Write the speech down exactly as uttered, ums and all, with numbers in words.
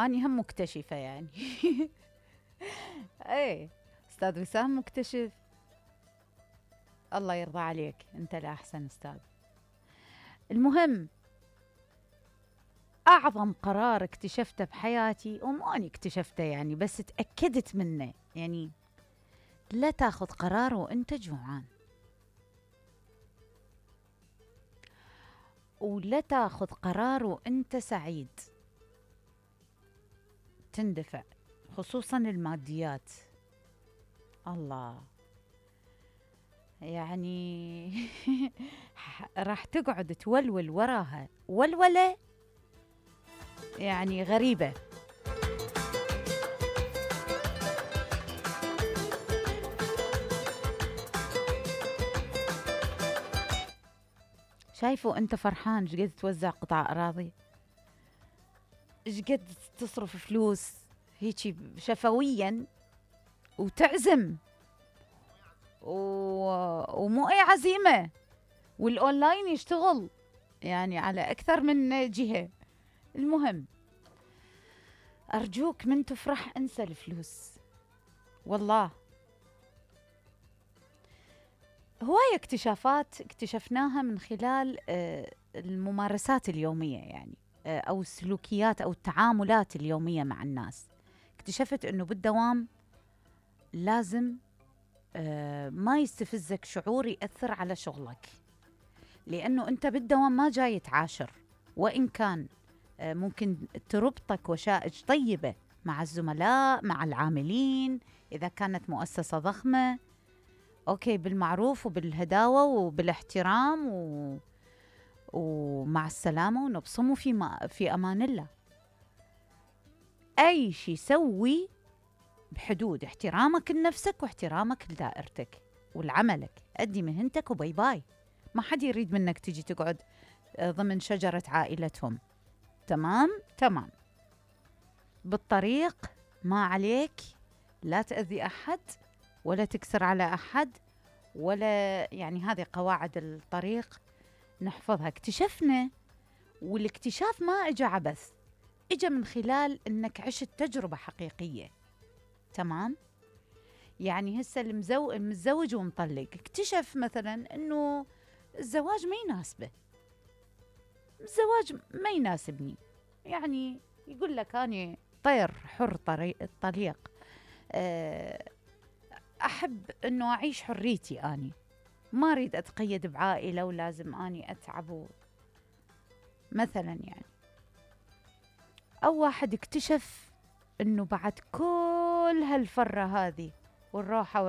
اني هم مكتشفة يعني. ايه، استاذ وسام مكتشف. الله يرضى عليك، انت لا احسن استاذ. المهم، اعظم قرار اكتشفته بحياتي، ومو اني اكتشفته يعني بس تاكدت منه، يعني لا تاخذ قرار وانت جوعان، ولا تاخذ قرار وانت سعيد. تندفع، خصوصا الماديات. الله، يعني راح تقعد تولول وراها ولولة يعني غريبة. شايفه انت فرحان شقد توزع قطع اراضي، شقد تصرف فلوس هيجي شفويا، وتعزم و... ومو اي عزيمة، والاونلاين يشتغل يعني على اكثر من جهة. المهم، ارجوك من تفرح انسى الفلوس، والله هواية اكتشافات اكتشفناها من خلال آه، الممارسات اليومية يعني، آه، أو السلوكيات أو التعاملات اليومية مع الناس. اكتشفت أنه بالدوام لازم آه، ما يستفزك شعور يأثر على شغلك، لأنه أنت بالدوام ما جاي تعاشر، وإن كان آه، ممكن تربطك وشائج طيبة مع الزملاء مع العاملين إذا كانت مؤسسة ضخمة، أوكي، بالمعروف وبالهداوة وبالاحترام و... ومع السلامة ونبصم في, ما... في أمان الله. أي شيء سوي بحدود احترامك لنفسك واحترامك لدائرتك ولعملك، أدي مهنتك وباي باي. ما حد يريد منك تجي تقعد ضمن شجرة عائلتهم. تمام تمام، بالطريق ما عليك، لا تأذي أحد ولا تكسر على أحد، ولا يعني هذه قواعد الطريق نحفظها. اكتشفنا، والاكتشاف ما اجى عبث، اجى من خلال انك عشت تجربة حقيقية. تمام، يعني هسه المزو... المتزوج ومطلق اكتشف مثلا انه الزواج ما يناسبه، الزواج ما يناسبني، يعني يقول لك أنا طير حر طريق الطليق، أحب أنه أعيش حريتي، أني ما أريد أتقيد بعائلة ولازم أني أتعب مثلا يعني. أو واحد اكتشف أنه بعد كل هالفرة هذه والروحة